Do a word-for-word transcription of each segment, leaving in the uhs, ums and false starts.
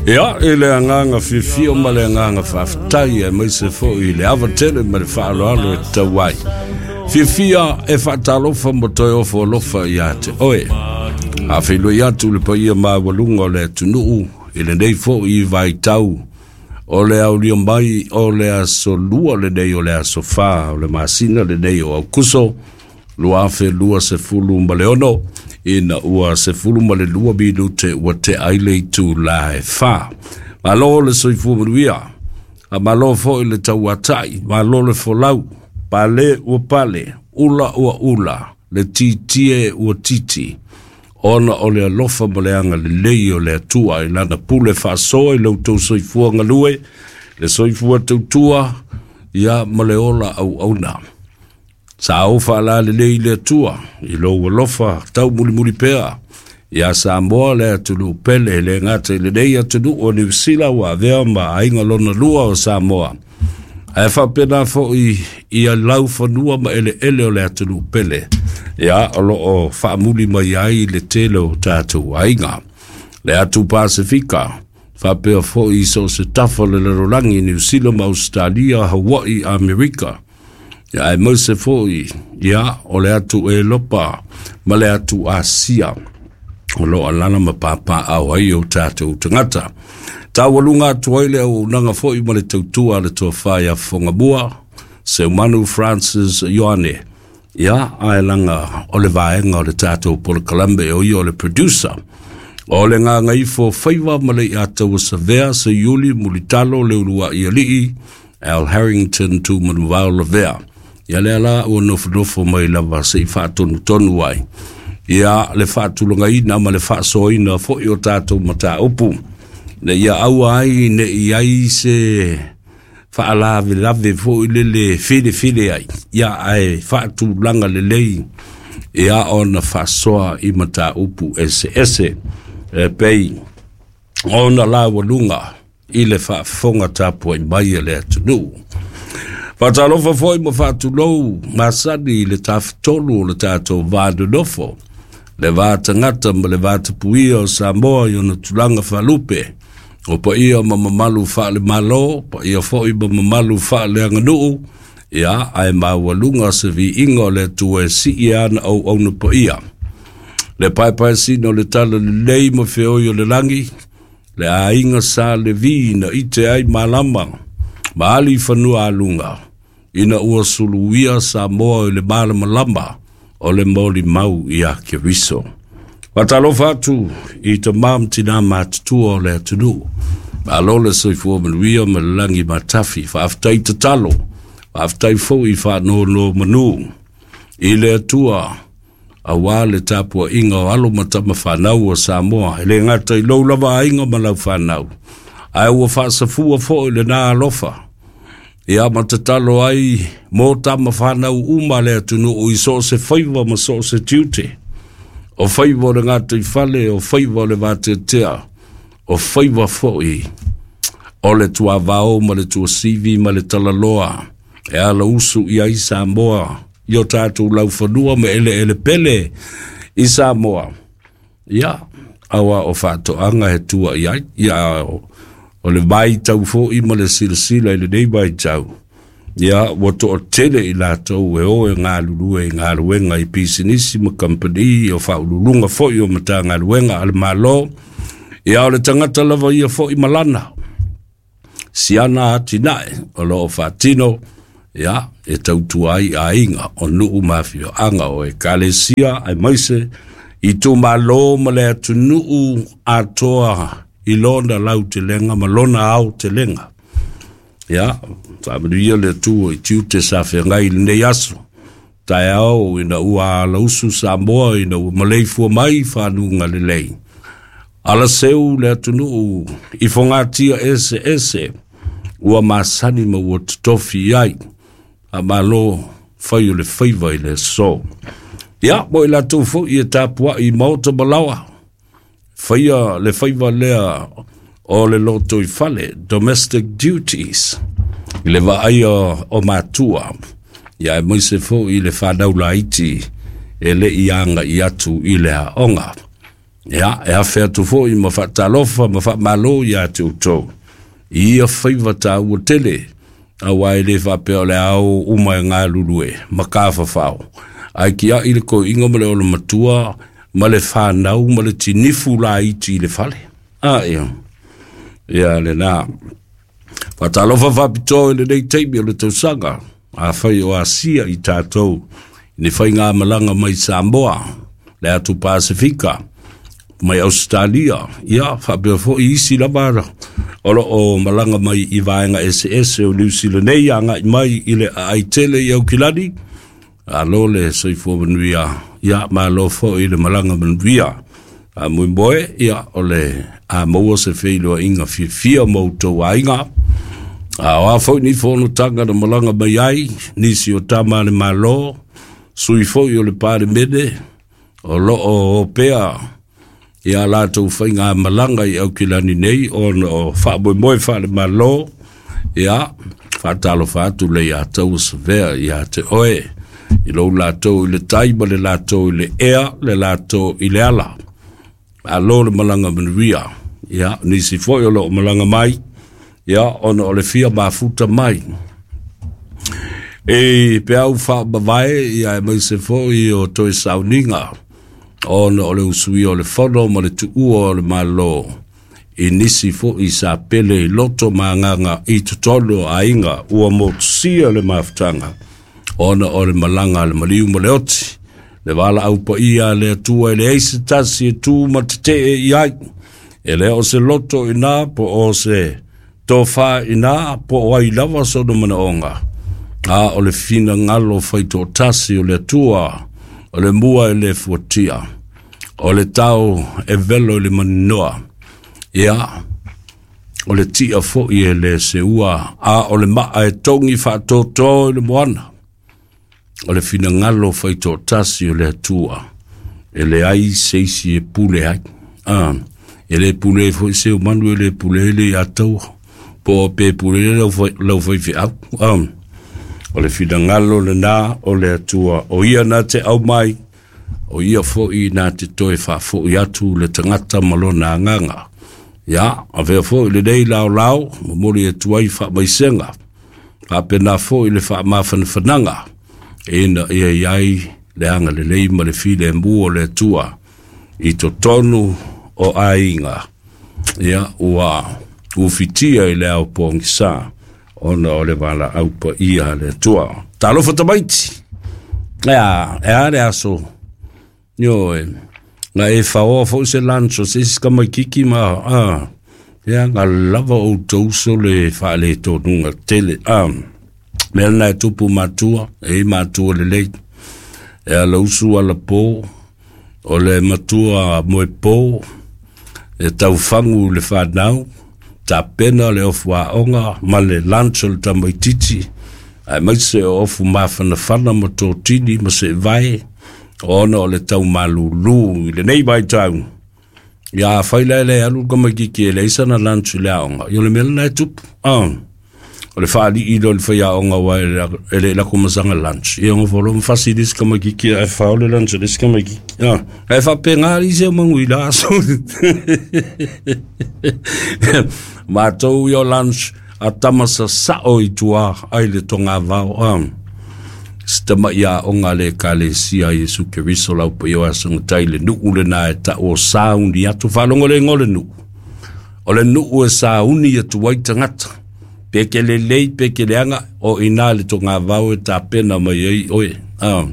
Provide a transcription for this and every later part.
Ia, i le agaga fiafia ma le agaga faafetai aemaise foi i le ava tele ma le faaaloalo e tatau ai. Fiafia e faatalofa ma toe ofo alofa ia te oe. Afeiloai atu le paia maualuga o le atunuu i lenei foi vaitau o le aulia mai o le aso lua lenei o le aso fa o le masina lenei o Aukuso lua afe lua sefulu ma le ono ina ua sefulu ma le lua minute ua tea ai le itula e fa. Malo le soifua manuia, a malo foi le tauatai, malo le folau, pale ua pale, ula ua ula, le titie ua titi, ona o le alofa ma le agalelei o le Atua i lana pule faasoa i lo outou soifua galue, le soifua tautua, ia ma le ola auauna. Sa o faalalelei i le Atua i lou alofa taumulimuli pea ia Samoa le atunuu pele, e le gata i lenei atunuu o Niu Sila ua avea ma aiga lona lua o Samoa, ae faapena foi ia laufanua ma eleele o le atunuu pele, ia o loo faamuli mai ai le tele o tatou aiga. Le atu Pasifika, faapea foi i so o se tafa o le lalolagi, Niu Sila ma Ausetalia, Hawaii, Amerika, ia aemaise foi ia o le atu Elopa ma le atu Asia o loo alala ma papaaao ai o tatou tagata. Taualuga atu ai le auaunaga foi ma le tautua a le tofa ia Fofogamua Seumanu Francis Ioane, ia ae laga o le vaega o le tatou polokalame o ia o le producer. O le gagaifo faiva ma le iataua savea Seiuli Mulitalo le uluai alii Al Harrington Tumanuvao Lavea. Ia lea la ua nofonofo mai lava se i faatonutonu ai ia le faatulagaina ma le faasoaina foi o tatou mataupu, ina ia aua ai ne i ai se faalavelave foi lele filefile ai, ia ae faatulaga lelei ia ona faasoa i mataupu eseese e pei ona laualuga i le faafofoga tapuai mai a le atunuu. Faatalofa foi ma faatulou masani i le tafatolu o le tatou va nonofo, le va tagata ma le va tapuia o Samoa i ona tulaga faalupe, o paia ma mamalu faale-Malo, paia foi ma mamalu faaleaganuu, ia ae maualuga se viiga o le Atua e sii ana auauna paia. Le paepaesina o le tala lelei ma feoi o le lagi, le aiga sa Levi na ite ai malama, ma ali i fanua aluga, ina ua suluia Samoa i le malamalama o le molimau ia Keriso. Faatalofa atu i tamā ma tinā matutua o le atunuu. Malo le soifua manuia ma le lagi matafi. Faafetai tatalo, faafetai foi i faanonomanu i le Atua aua le tapuaiga o alo ma tama fanau o Samoa, e le gata i lou lava aiga ma lau fanau, ae ua faasafua foi lena alofa ia ma tatalo ai mo tama fanau uma le atunuu i so o se faiva ma so o se tiute, o faiva o le gataifale, o faiva o le vateatea, o faiva foi o le tuavao ma le tuasivi ma le talaloa e ala usu i ai Samoa i o tatou laufanua ma eleele pele i Samoa. Ia, aua o faatoaga e tua i ai, ia o, o le vaitau foi ma le silasila i lenei vaitau, ia ua toatele i latou e o e galulue i galuega i pisinisi ma kamupani, o faauluuluga foi o Matagaluega a le Malo. Ia o le tagata lava ia foi malana siana atinae o loo faatino, ia e tautua ai aiga o nuu ma afioaga o ekalesia aemaise itumalo ma le atunuu atoa i lona lautelega ma lona aotelega. Ia faamanuia le Atua i tiute sa feagai i lenei aso taeao ina ua alausu Samoa ina ua maleifua mai i fanuga lelei. Alaseu le atunuu i fogatia eseese ua masani ma ua totofi i ai. Faamalo fai o le faiva i le aso. Ia, mo i latou foi e tapuai i maota ma laoa, faia le faiva lea o le lotoifale, domestic duties, i le vaaia o matua, ia aemaise foi i le fanau laiti e le i agai atu i le aoga. Ia, e afe atu fo'i ma fa'atalofa ma fa'amālō iā te outou i ia faiva tāua tele, auā e lē faapea o le ao uma e galulue ma kafafao, ae kia'i le koi'iga ma le olamatua ma le fanau ma le tinifu laiti i le fale. A ia, ia lenā. Faatalofa faapitoa i lenei taimi o le tausaga, afai o asia i tatou i ni faigamalaga mai Samoa, le atu Pasefika, mai Ausetalia, ia faapea fo'i isi lava o lo'o malaga mai i vaega eseese o Niusila nei aga'i mai i le aai tele i Aukilani. Alo le soifua manuia, ia malo fo'i le malaga manuia. Faamoemoe ia o le a maua se feiloaiga fiafia ma outou aiga. A o a foi ni fonotaga na malaga mai ai nisi o tama a le Mālō, sui foi o le Palemene o lo'o opea ia latou faigamalaga i Aukilani nei ona o faamoemoe faalemalō, ia faatalofa atu le iā taua savea iā te oe i lou latou i le tai ma le latou i le ea le latou i le ala. Malo le malaga manuia. Ia nisi foi o lo'o malaga mai, ia ona o le fia mafuta mai e peau faamavae, ia aemaise foi o toe sauniga ona o le usuia o le fono ma le tuua o le Mālō i nisi fo'i sa pele i loto ma agaga i totonu o aiga ua motusia le mafutaga ona o le malaga a le maliu ma le oti, le valaau paia a le Atua e leai se tasi e tu ma tete'e i ai. E lē o se loto inā po o se tofā inā po o ai lava sona manaoga, a o le finagalo faitoatasi o le Atua, o le mua e lē fuatia, o le tao e velo i le maninoa, ia o le ti'a fo'i e lē seua, a o le ma'a e togi fa'atōtō i le moana. O le finagalo faitoatasi o le Atua e leai se isi e pule ai. A e lē pule ai fo'i se manu, e lē pule ai le iā taua po o pe pule ai lau faife'au. A o le finagalo lenā o le Atua, o ia na te aumai, o ia fo'i na te toe fa'afo'i atu le tagata ma lona agaga. Ia avea fo'i lenei laolao momoli atu ai fa'amaisega faapena fo'i le fa'amafanafanaga ina ia iai le agalelei ma le filemu o le Atua i totonu o aiga, ia ua ufitia i le ao pogisā ona o le valaau paia a le Atua. Talofa tamaiti, ia e a le aso ioe na e faoa fo'i se lanso se isi kamaikiki ma a ia ga lava outou so le fa'aletonuga tele. A mea lena e tupu matua e matua lelei e alausu alapō o le matua moepō e taufagu le fanau tapena le ofu a'oga ma le lanso le tamaititi, aemaise o ofu mafanafana ma totini ma se'evae ona o le taumalūlū i lenei vaitau. Ia afai la e le alu le kamaikiki e leai sana lanso i le aoga, ia o le mea lena e tupu. A o le fa'ali'i lea o le faiaoga ua e le lako masaga lunch, ia ona folo ma fasi le isi kamaikiki ae fao le lunch a le isi kamaikiki. A ae faapegā alii se o magui la aso matou ia o lunch a tama sasa'o i tuā ai le togavao. A se tama'i aoga a le Ekalesia Iesu Keriso lau paia o asogatai le nu'u lenā e ta'u o sauni atu faalogo le igoa o le nu'u, o le nu'u e sauni atu ai tagata pe ke lelei pe ke leaga o inā le togavao e tapena mai ai oe. A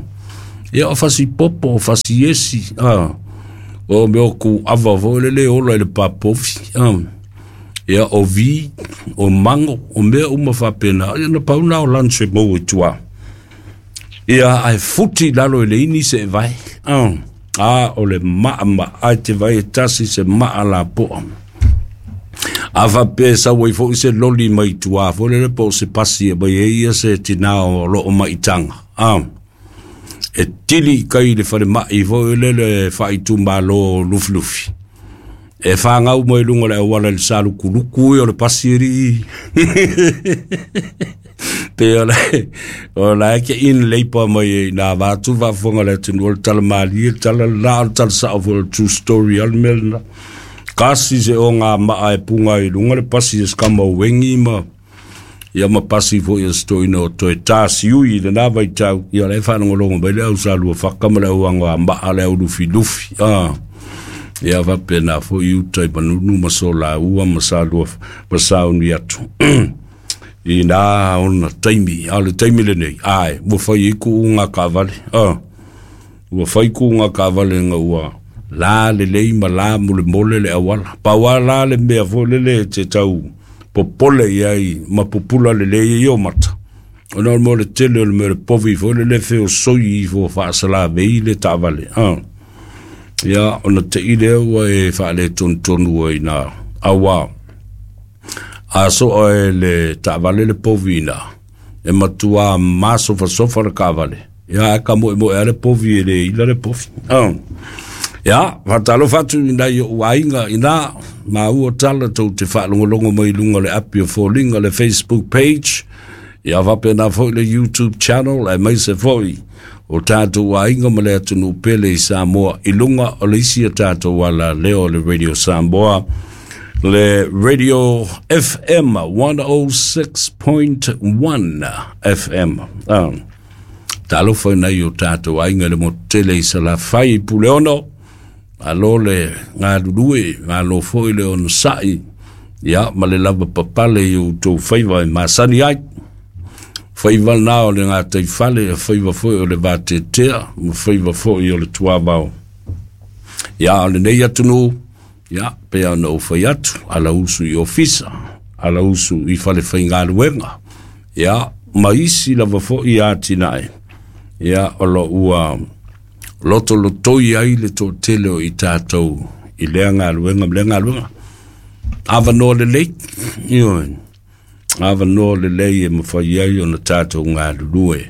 ia o fasipopo o fasiesi a o mea o ku'ava foi le lē ola i le papofi. A ia o vi o mago o mea uma faapena, ia na pau na o lunch e maua i tuā, ia ae futi i lalo i le ini se'evae. A a o le ma'ama'a te vai e tasi se ma'a lapo'a. A faapea e sau ai fo'i se loli mai tuā foi lele po o se pasi e mai ai ia se tinā o lo'o ma'itaga, a e tili i kai i le falema'i foi lele fa'aitumālō lufilufi e fagau mai luga o le auala i le salukuluku ia o le pasi alii. Pe o le o la ke in leipa mai na vatu va fonga le tunu o tala mali tala la o tala sa o true story al melna kasi se o ngā maa e punga i lunga le pasi e skama wengi ma ia ma pasi fo ia stoina o toe tasi ui le nā vai tau ia le whanongolongo mai le au sa lua whakama le au anga maa le au lufi lufi ah. Ia wapena fo i utai manunu ma so la ua ma sa lua ma sa unu atu i nā ona taimi a le taimi le nei ai ua whai iku unga kawale ah. Ua whai ku unga kawale nga ua la le lei ma la mule mole le awala. Pawa la le mea fo le le te tau popole iai ma pupula le lei i o mata. Ona o le tele o le mea le povi fo le le feo soi i fo whaasala vei le tawale. Ah. Ia ona te ile ua e whaale tontonu ai nā awa. A so e le tawale le povi nā. E matua masofa sofa le kawale. Ia e ka moe moe a le povi e le ila le povi. Ah. Ia, whatalo whatu ina i o ainga ina, ma ua tala tau te whaalongolongo mai lunga le api o fōlinga le Facebook page, ia wapena foi le YouTube channel, e mai se foi o tātou ainga ma le atunu pele i Samoa, i lunga o le isi a tātou ala leo le Radio Samoa, le Radio F M one oh six point one F M. Ah. Talo foi nei o tātou ainga le mo tele i Salafai i Puleono, alo le ngā lulue, ngā lo foi le ono sai, ia, ma le lava papale i o tō whaiva e masani ai. Whaiva nā o le ngā teifale, whaiva foi o le vātetea, ma whaiva foi o le tuavao. Ia, o le nei atunu, ia, pea ona o whai atu, ala usu i ofisa, ala usu i whale whaingaluenga, ia, ma isi lava foi ātinae, ia, o lo ua loto lotoi ai le tō tele o i tātou i lea ngā luenga, lea ngā luenga. Awa noa le lei, ioe. Awa noa le lei e mawhai ai o na tātou ngā lulue.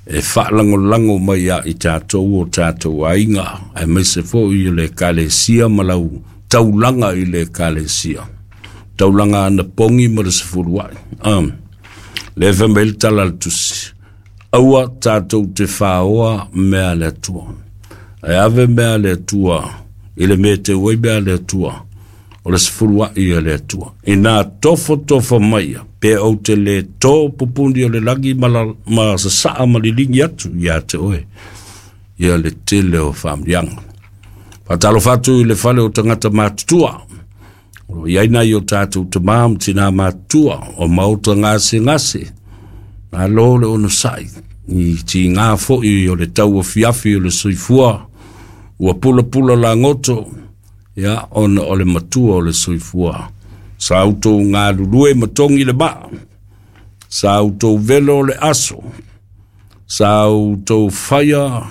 E whaalangolango mai a i tātou o tātou ainga. E meise fo i le kalesia malau taulanga i le kalesia. Taulanga ana pongi ma le sefuruai. Um, le whamel talal tusi. Aua tātou te whaoa mea le atua. E ave mea le atua, i le mea te ui mea le atua, o le sefulua i le atua. I nā tofo tofo maia, pe au te le tō pupundi o le lagi ma, la, ma sasaa ma lilingi atu ia te oe, ia le tele o whamrianga. Whatalo whatu i le whale o tangata mātutua, o iaina i o tātou te maam tina mātua, o mauta ngase ngase, nā lō le ono sai, i ti ngā foi o le tau o fiafi o le soifua, ua pula pula la ngoto, ia ona o le matua o le soifua. Sa autou ngā lulue matongi le maa, sa autou velo le aso, sa autou whaia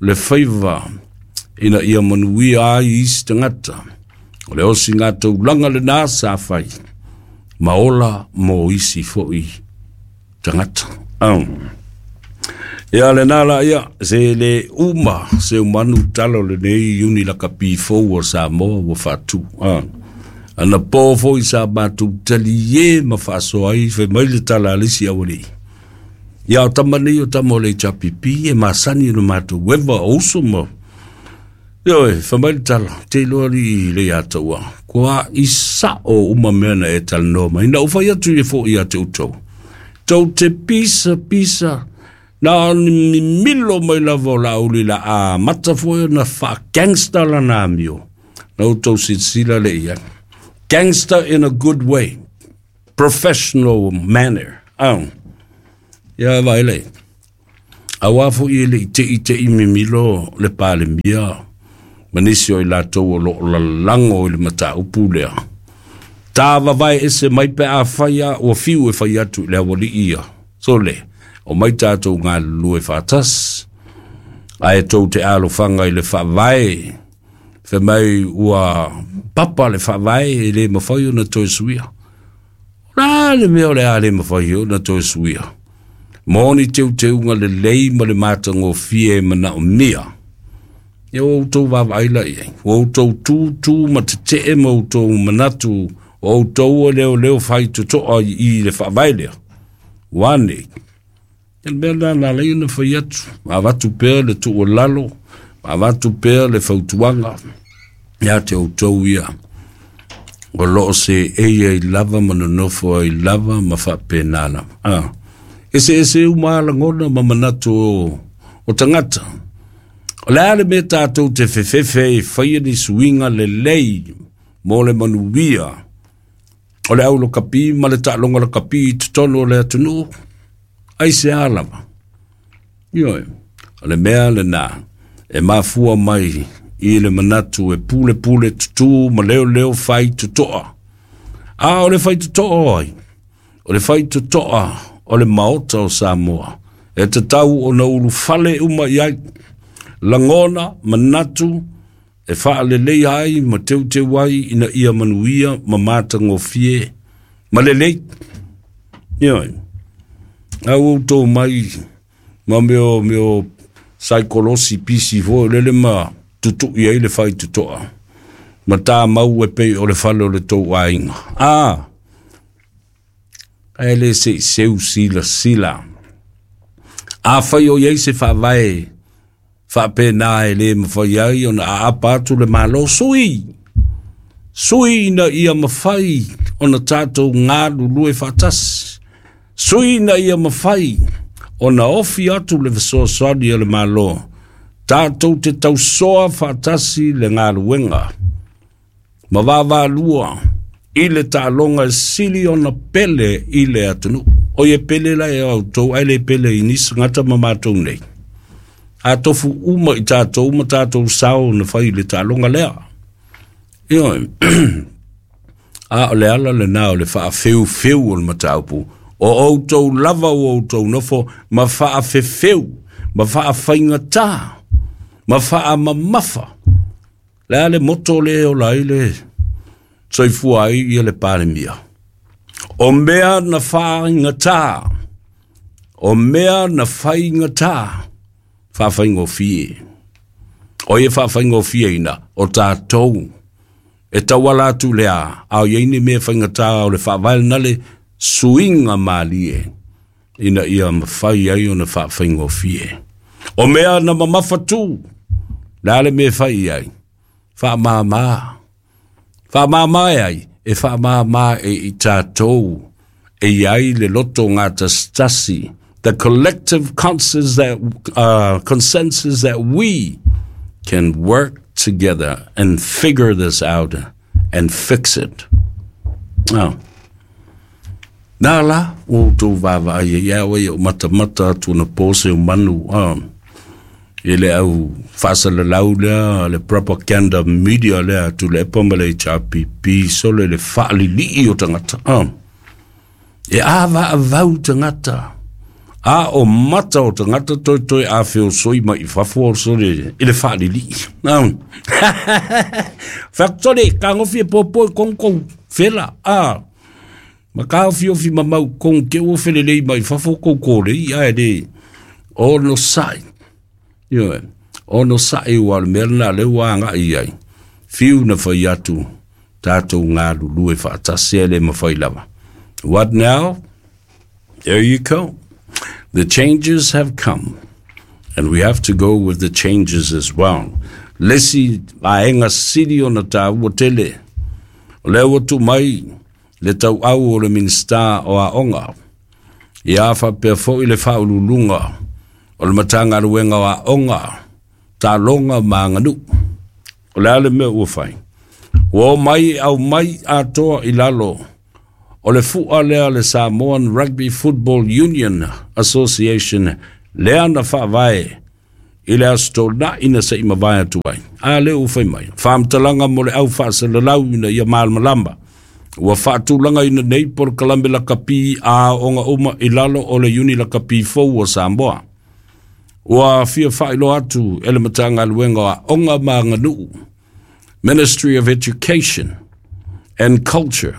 le whaiva, ina ia manuia ai isi tangata. O le osi ngā taulanga le nā sa whai, maola mō isi foi tangata. Um. Ia le nā la ia, se le uma, se umanu talo le nei uni la kapi fō o Samoa ua whātu. Ah. Ana pō fō i sa mātou tali e ma whaasoa ai, whai mai le tala alisi awali. Ia o tama nei o tama o le chapipi e masani no mātou wewa o uso ma. Ia e, whai mai le tala, te loa li le ataua. Kua i sa o uma mea na e tala noa mai. Na uwhai atu e fō i a te utou. Tau te pisa, pisa, na ni milo mai lava o la uli la a mata foi na fa gangster la na mio. Na utou sila le ia. Gangster in a good way. Professional manner. Um. Ia vai le. Awa fo i le te i te i mimilo le pale mia. Manisi o i latou o lo la lango i le mata upu lea. Tā vavai ese mai pe a whaia o fiu e whai atu le awali ia. So le, o mai tātou ngā lue whātas, ai tau te alofanga i le whavae, whe mai ua papa le whavae e le mawhai o na toe suia. Rā le mea o le a le mawhai o na toe suia. Mōni teu teunga le lei ma le mātango fie mana o mia. Ia o tau wawaila ia. O tau tūtū ma te te e ma o tau manatu o tau o leo leo whai totoa i le whavae lea. Wane. El mea la la lei na fai atu. Avatu pea le tuualalo, avatu pea le fautuaga ia te outou ia. O loo se eia i lava ma nonofo ai lava ma faapena lava. Ah. Ese ese uma lagona ma manatu o, o tagata. O le a le mea tatou te fefefe e faia ni suiga lelei mo le manuia o le au lakapi ma le taaloga lakapi i totonu o le atunuu, aisea lava? Ioe, o le mea lenā e mafua mai i le manatu e pulepule tutū ma leoleo faitotoa. A o le faitotoa o ai? O le faitotoa o le Maota o Samoa, e tatau ona ulufale uma i ai lagona, manatu e faaleleia ai ma teuteu ai ina ia manuia ma matagofie ma lelei. Ioe, a ua outou mai ma mea o mea o saikolosi pisi foi lele ma tutu'i ai le faitotoa ma tamau e pei o le fale o le tou aiga. A ae le se i seu silasila. Afai o i ai se faavae faapena e lē mafai ai ona aapa atu le Malo, sui sui ina ia mafai ona tatou galulue faatasi, sui ina ia mafai ona ofi atu le fesoasoani a le Malo, tatou te tausoa faatasi le galuega ma vaavaalua i le taaloga e sili ona pele i le atunuu. O ie pele la e outou ae le pele i nisi tagata ma matou nei. A tofu uma i tatou ma tatou sao na fai i le taaloga lea. Ioe. A o le ala lenā o le faafeufeu o le mataupu. O outou lava ua outou nofo ma faafefeu, ma faafaigatā, ma faamamafa. Le a le moto le e ola ai le soifua ai ia le Palemia? O mea na faaigatā, o mea na faigatā, faafaigofie. O ia faafaigofieina, o tatou e tauala atu le a, a o i ai ni mea faigatā o le faavae lena le suiga malie ina ia mafai ai ona faafaigofie. O mea na mamafa tu, le a le mea e fai i ai? Faamāmā. Faamāmā e ai? E faamāmā e i tatou e i ai le loto gatasitasi, the collective consensus that, uh, consensus that we can work together and figure this out and fix it. Oh. Nā la, ua outou vaavaai ai ia oe o matamata atu na pose o manu ah, i le au faasalalau lea, le propaganda media lea atu le epa ma le H R P P, sole le faalili'i o tagata. Ah. E avaavau tagata. A o mata o tagata toi toi a feosoi mai i fafo o sole i le faalili'i. Ah. Factore, kagofi e popo e kongkou fela. Ah. Ma ka ofiofi mamau kong ke ua felelei mai fafo koukou lei ae le ono sa'i. Ioe, ono sa'i ua o le mea lenā lea ua aga'i ai. Fiu na fai atu tatou galulue faatasi ae le mafai lava. What now? There you go. The changes have come, and we have to go with the changes as well. Le isi vaega sili ona taua tele, o lea ua tuu mai le tauau o le Minisita o Aoga, ia faapea foi le faauluuluga o le Matagaluega o Aoga, Taaloga ma Aganuu. O le a le mea ua fai? Ua omai e aumai atoa i lalo o le fua lea le Samoan Rugby Football Union Association lea na faavae i le Aso Toonai na se i mavae atu ai. A lea ua fai mai, faamatalaga mo le au faasalalau ina ia malamalama. Ua faatulagaina nei polokalame lakapi a aoga uma i lalo o le Iuni Lakapi fou o Samoa. Ua fia faailoa atu e le Matagaluega o Aoga ma Aganuu, Ministry of Education and Culture,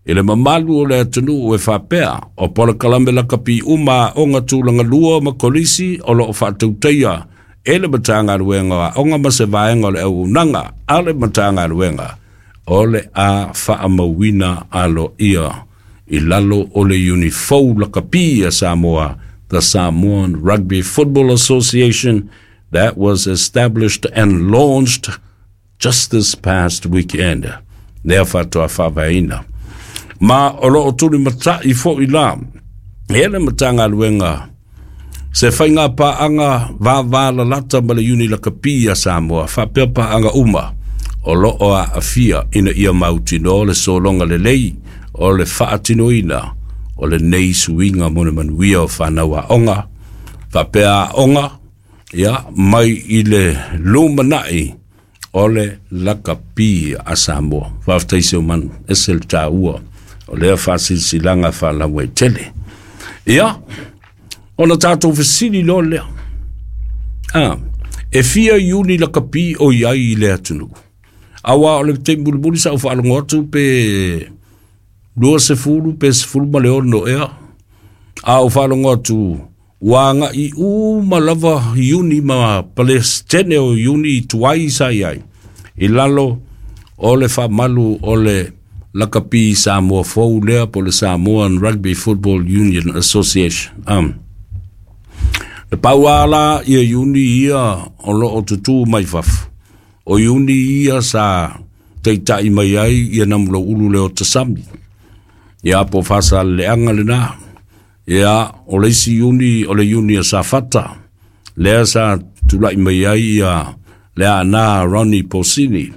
i le mamalu o le atunuu e faapea o polokalame lakapi uma a aoga tulaga lua ma kolisi o loo faatautaia e le Matagaluega o Aoga ma se vaega o le auaunaga a le Matagaluega o le a faamauina aloaia I lalo o le iuni fou lakapi a Samoa, the Samoan Rugby Football Association, that was established and launched just this past weekend. Lea faatoa faavaeina. Ma o loo tulimata'i fo'i la e le Matagaluega se faiga paaga vavalalata ma le Iuni Lakapi a Samoa faapea paaga uma o loo aafia ina ia mautinoa le sologa lelei o le faatinoina o lenei suiga mo le manuia o fanau aoga faapea aoga ia mai i le lumanai o le lakapi a Samoa. Faafetai Seumanu, ese le taua o lea faasilasilaga faalauaitele. Ia, ona tatou fesili loa lea. Ah, e fia iuni lakapi o i ai i le atunuu? Auā o le taimi mulimuli sa ou faalogo atu pe lua sefulu pe sefulu ma le ono ea. A ou faalogo atu ua aga'i uma lava iuni ma Palestene o iuni tuai sa i ai i lalo o le faamalu o le lakapi Samoa fou lea po le Samoan Rugby Football Union Association. Um, le pau la ia iuni ia o loo tutū mai fafo. O iuni ia sa taita'i mai ai ia Namulau'ulu Leota Sami. Ia po Faasaleleaga lena. Ia o le isi iuni o le iuni a Safata. Lea sa tula'i mai ai ia le ana Ronnie Posini.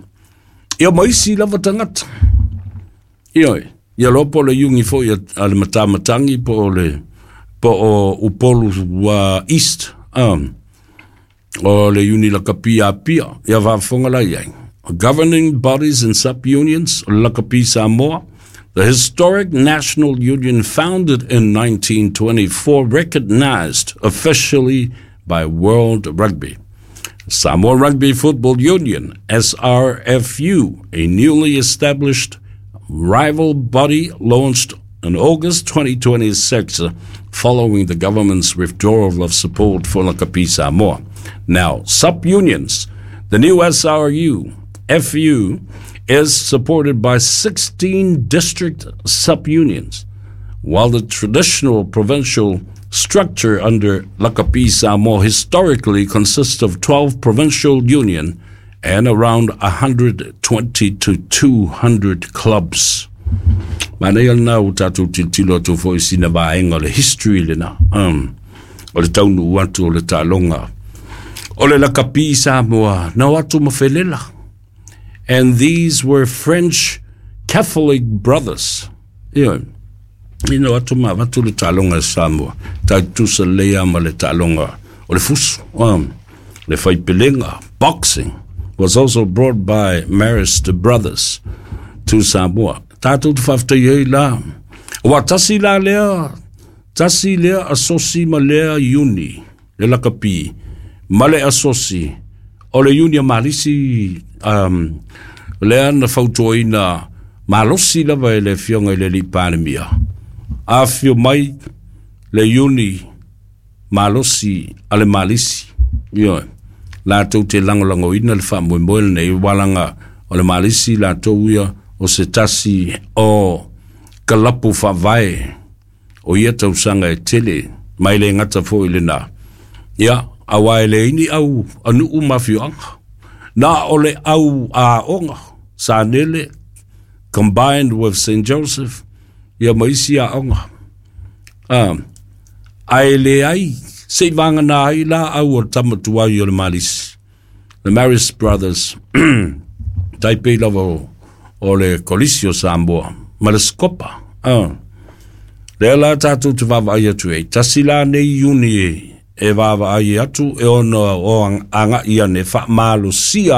Ia ma isi lava tagata. Ia, ia loa po o le iuni fo'i a le Matamatangi po o le po o Upolu uh, East. Um, o le iuni lakapi Apia. Ia faafofoga la i ai. Governing bodies and sub-unions, Lakapi Samoa, the historic national union founded in nineteen twenty-four, recognized officially by World Rugby. Samoa Rugby Football Union, S R F U, a newly established rival body launched in August twenty twenty-six following the government's withdrawal of support for Lakapi Samoa. Now, sub-unions. The new S R U, F U, is supported by sixteen district sub-unions, while the traditional provincial structure under Lakapi Samoa historically consists of twelve provincial union and around one hundred twenty to two hundred clubs. Manaia lena ua tatou tilotilo atu foi sina vaega o le history lena. Um, o le taunuu atu o le taaloga o le lakapi Samoa na o atu ma felela. And these were French Catholic brothers. Ia, ina o atu ma avatu le taaloga Samoa. Tai tusa lea ma le taaloga o le fusu. Um, le faipelega, boxing, was also brought by Marist Brothers to Samoa. Tatou te faafetai ai la. Ua tasi la lea, tasi lea asosi ma lea iuni, le lakapi, ma le asosi, o le iuni a Malisi, um, lea na fautuaina malosi lava e le afioga i le alii Palemia. Afio mai le iuni malosi a le Malisi. Ioe, latou te lagolagoina le faamoemoe lenei walaga o le Malisi latou ia o se tasi o kalapu faavae o ia tausaga e tele mai le gata fo'i lena. Ia, auā e leai ni au anuu ma afioaga. Na o le au aoga, Sanele, combined with Saint Joseph, ia ma isi aoga. Ah, ae leai se'i vagana ai la au o le tamatuai o le Malisi. The Marist Brothers, tai pei lava o, o le Kolisi o Samoa, ma le Skopa. Ah. Lea la tatou te vaavaai atu ai. Tasi la nei iuni e, e vaavaai atu e ona o aga'i ane faamalosia.